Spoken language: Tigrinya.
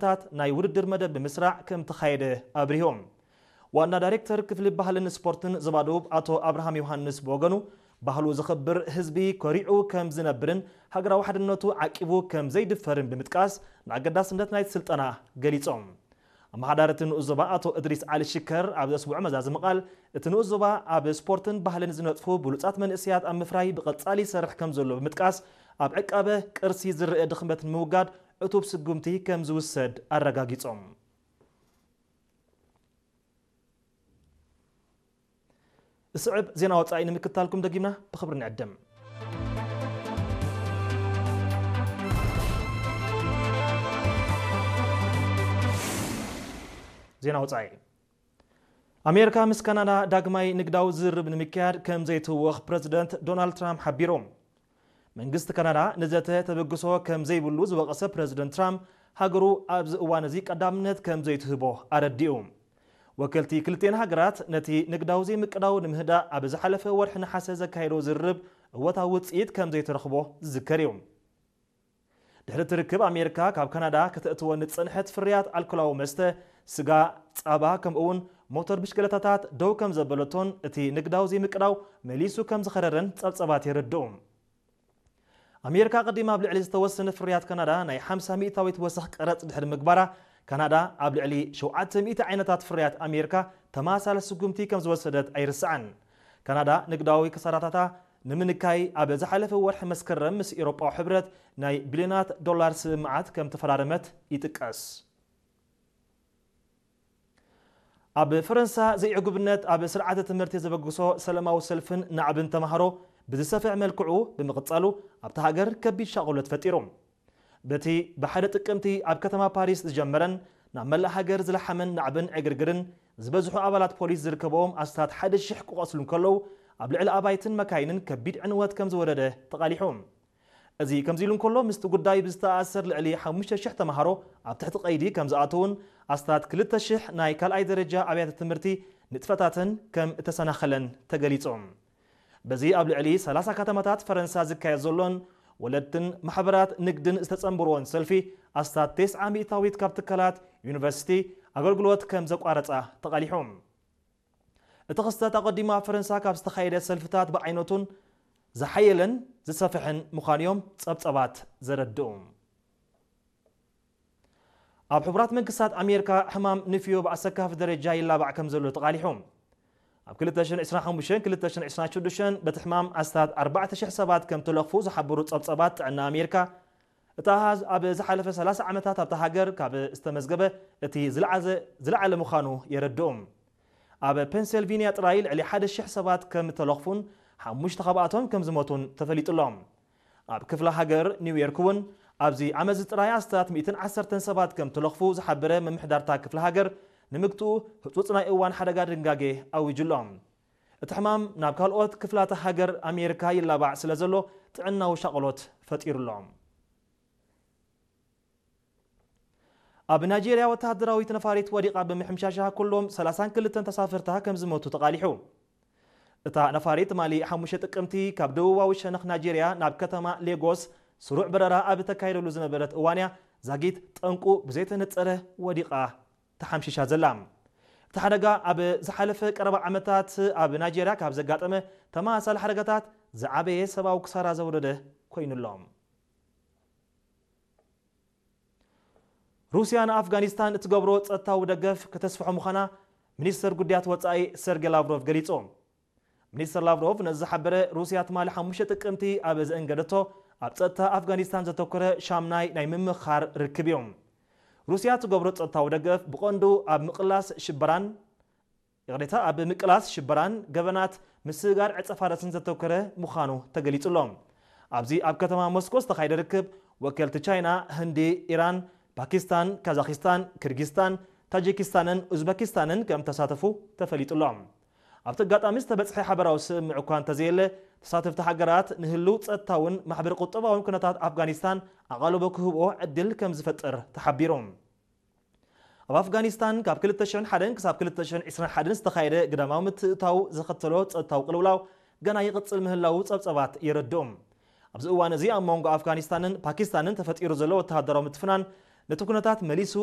ታት ናይ ውድድር መደብ ብምስራዕ ከም ተኻየደ ኣብሪሆም። ዋና ዳይሬክተር ክፍሊ ባህልን ስፖርትን ዞባ ደቡብ ኣቶ ኣብርሃም ዮሃንስ ብወገኑ፣ ባህሉ ዘኽብር ህዝቢ ኮሪዑ ከም ዝነብርን ሃገራዊ ሓድነቱ ዓቂቡ ከም ዘይድፈርን ብምጥቃስ፣ ንኣገዳስነት ናይቲ ስልጠና ገሊጾም። ኣመሓዳሪ እቲ ንኡስ ዞባ ኣቶ እድሪስ ዓሊ ሽከር ኣብ ዘስምዖ መዛዘሚ ቃል፣ እቲ ንኡስ ዞባ ኣብ ስፖርትን ባህልን ዝነጥፉ ብሉጻት መንእሰያት ኣብ ምፍራይ ብቐጻሊ ይሰርሕ ከም ዘሎ ብምጥቃስ፣ ኣብ ዕቃበ ቅርሲ ዝረአ ድኽመት ንምውጋድ ዕቱብ ስጉምቲ ከም ዝውሰድ ኣረጋጊጾም። ዝስዕብ ዜና ወጻኢ ንምክታልኩም ደጊምና ብኽብሪ ንዕድም። ዜና ወጻኢ። ኣሜሪካ ምስ ካናዳ ዳግማይ ንግዳዊ ዝርርብ ንምክያድ ከም ዘይትህወኽ ፕረዚደንት ዶናልድ ትራምፕ ሓቢሩ። መንግስቲ ካናዳ ንዘተ ተበግሶ ከም ዘይብሉ ዝወቐሰ ፕረዚደንት ትራምፕ፣ ሃገሩ ኣብዚ እዋን እዚ ቀዳምነት ከም ዘይትህቦ ኣረዲኡ። ወከልቲ ክልቲኤን ሃገራት ነቲ ንግዳዊ ዘይምቅዳው ንምህዳእ ኣብ ዝሓለፈ ወርሒ ነሓሰ ዘካየዶ ዝርርብ እወታዊ ውጽኢት ከም ዘይተረኽቦ ዝዝከር እዩ። ድሕሪ እቲ ርክብ፣ ኣሜሪካ ካብ ካናዳ ከተእትወን ዝጸንሐት ፍርያት ኣልኮላዊ መስተ፣ ስጋ፣ ጸባ፣ ከምኡ'ውን ሞተር ብሽክለታታት ደው ከም ዘበለቶን እቲ ንግዳዊ ዘይምቅዳው መሊሱ ከም ዝኸረረን ጸብጸባት የረድኡ። ኣሜሪካ ቀዲማ ኣብ ልዕሊ ዝተወሰነ ፍርያት ካናዳ ናይ ሓምሳ ሚእታዊት ወሰኽ ቀረጽ ድሕሪ ምግባራ፣ ካናዳ ኣብ ልዕሊ ሸውዓተ ሚእቲ ዓይነታት ፍርያት ኣሜሪካ ተመሳሳሊ ስጉምቲ ከም ዝወሰደት ኣይርሳዕን። ካናዳ ንግዳዊ ክሳራታታ ንምንካይ ኣብ ዝሓለፈ ወርሒ መስከረም ምስ ኤውሮጳዊ ሕብረት ናይ ቢልዮናት ዶላር ስምምዓት ከም ተፈራረመት ይጥቀስ። ኣብ ፈረንሳ ዘይዕጉብነት ኣብ ስርዓተ ትምህርቲ ዘበግሶ ሰላማዊ ሰልፍን ናዕብን ተማሃሮ ብዝሰፍሕ መልክዑ ብምቕጻሉ፣ ኣብታ ሃገር ከቢድ ሻቕሎት ፈጢሩ። በቲ ብሓደ ጥቅምቲ ኣብ ከተማ ፓሪስ ዝጀመረን ናብ መላእ ሃገር ዝለሓመን ናዕብን ዕግርግርን፣ ዝበዝሑ ኣባላት ፖሊስ ዝርከብዎም ኣስታት ሓደ ሽሕ ክቖስሉ እንከለዉ፣ ኣብ ልዕሊ ኣባይትን መካይንን ከቢድ ዕንወት ከም ዝወረደ ተቓሊሑ። እዚ ከምዚ ኢሉ እንከሎ፣ ምስቲ ጉዳይ ብዝተኣሳሰር ልዕሊ ሓሙሽተ ሽሕ ተማሃሮ ኣብ ትሕቲ ቀይዲ ከም ዝኣተዉን ኣስታት ክልተ ሽሕ ናይ ካልኣይ ደረጃ ኣብያተ ትምህርቲ ንጥፈታተን ከም እተሰናኸለን ተገሊጹ። በዚ ኣብ ልዕሊ ሰላሳ ከተማታት ፈረንሳ ዝካየድ ዘሎን ወለድትን ማሕበራት ንግድን ዝተጸንበርዎን ሰልፊ፣ ኣስታት ተስዓ ሚእታዊት ካብ ትካላት ዩኒቨርሲቲ ኣገልግሎት ከም ዘቋረጻ ተቓሊሑ። እቲ ክስተት ኣቐዲሙ ኣብ ፈረንሳ ካብ ዝተኻየደ ሰልፍታት ብዓይነቱን ዝሓየለን ዝሰፍሐን ምዃኑ እዮም ጸብጸባት ዘረድኡ። ኣብ ሕቡራት መንግስታት ኣሜሪካ ሕማም ንፍዮ ብኣሰካፊ ደረጃ ይላባዕ ከም ዘሎ ተቓሊሑ። ኣብ ክልተ ሽሕን ዕስራን ሓሙሽተን ክልተ ሽሕን ዕስራን ሽዱሽተን በቲ ሕማም ኣስታት ኣርባዕተ ሽሕ ሰባት ከም ተለኽፉ ዝሓበሩ ጸብጸባት ጥዕና ኣሜሪካ፣ እቲ ኣሃዝ ኣብ ዝሓለፈ ሰላሳ ዓመታት ኣብታ ሃገር ካብ ዝተመዝገበ እቲ ዝለዓዘ-፣ ዝለዓለ ምዃኑ የረድኡ። ኣብ ፔንሰልቪንያ ጥራይ ልዕሊ ሓደ ሽሕ ሰባት ከም ተለኽፉን ሓሙሽተ ካብኣቶም ከም ዝሞቱን ተፈሊጡ ኣሎ። ኣብ ክፍለ ሃገር ኒውዮርክ እውን ኣብዚ ዓመት እዚ ጥራይ ኣስታት ሚእትን ዓሰርተን ሰባት ከም ተለኽፉ ዝሓበረ ምምሕዳርታ ክፍለ ሃገር፣ ንምግትኡ ህጹጽ ናይ እዋን ሓደጋ ድንጋጌ ኣዊጁ ኣሎ። እቲ ሕማም ናብ ካልኦት ክፍላተ ሃገር ኣሜሪካ ይላባዕ ስለ ዘሎ ጥዕናዊ ሻቕሎት ፈጢሩ ኣሎ። ኣብ ናይጄርያ ወተሃደራዊት ነፋሪት ወዲቓ ብምሕምሻሻ ኩሎም ሰላሳን ክልተን ተሳፈርታ ከም ዝሞቱ ተቓሊሑ። እታ ነፋሪት ትማሊ ሓሙሽተ ጥቅምቲ ካብ ደቡባዊ ሸነኽ ናይጄርያ ናብ ከተማ ሌጎስ ስሩዕ በረራ ኣብ እተካየደሉ ዝነበረት እዋን እያ ዛጊት ጠንቁ ብዘይተነጸረ ወዲቓ ተሓምሺሻ ዘላ። እቲ ሓደጋ ኣብ ዝሓለፈ ቀረባ ዓመታት ኣብ ናይጄርያ ካብ ዘጋጠመ ተመሳሳሊ ሓደጋታት ዝዓበየ ሰብኣዊ ክሳራ ዘውረደ ኮይኑ ኣሎ። ሩስያ ንኣፍጋኒስታን እትገብሮ ጸጥታዊ ደገፍ ከተስፍሖ ምዃና ሚኒስተር ጉዳያት ወጻኢ ሰርጌ ላቭሮቭ ገሊጹ። ሚኒስተር ላቭሮቭ ነዚ ዝሓበረ፣ ሩስያ ትማሊ ሓሙሽተ ጥቅምቲ ኣብ ዘእንገደቶ ኣብ ጸጥታ ኣፍጋኒስታን ዘተኮረ ሻምናይ ናይ ምምኻር ርክብ እዩ። ሩስያ ትገብሮ ጸጥታዊ ደገፍ ብቐንዱ ኣብ ምቕላስ ሽበራን፣ ይቕሬታ፣ ኣብ ምቅላስ ሽበራን ገበናት ምስግጋር ዕጸ ፋርስን ዘተኮረ ምዃኑ ተገሊጹ ኣሎ። ኣብዚ ኣብ ከተማ ሞስኮ ዝተኻየደ ርክብ፣ ወከልቲ ቻይና፣ ህንዲ፣ ኢራን፣ ፓኪስታን፣ ካዛኪስታን፣ ኪርጊስታን፣ ታጂኪስታንን ኡዝበኪስታንን ከም ተሳተፉ ተፈሊጡ ኣሎ። ኣብቲ ኣጋጣሚ ዝተበጽሐ ሓበራዊ ስምምዕ እኳ እንተዘየለ፣ ተሳተፍቲ ሃገራት ንህልው ጸጥታውን ማሕበረ ቁጠባውን ኩነታት ኣፍጋኒስታን ኣቓልቦ ክህብኦ ዕድል ከም ዝፈጥር ተሓቢሩ። ኣብ ኣፍጋኒስታን ካብ ክልተ ሽሕን ሓደን ክሳብ ክልተ ሽሕን ዕስራን ሓደን ዝተኻየደ ግዳማዊ ምትእትታው ዘኸተሎ ጸጥታዊ ቅልውላው ገና ይቕጽል ምህላዉ ጸብጸባት የረድኡ። ኣብዚ እዋን እዚ ኣብ መንጎ ኣፍጋኒስታንን ፓኪስታንን ተፈጢሩ ዘሎ ወተሃደራዊ ምትፍናን ነቲ ኩነታት መሊሱ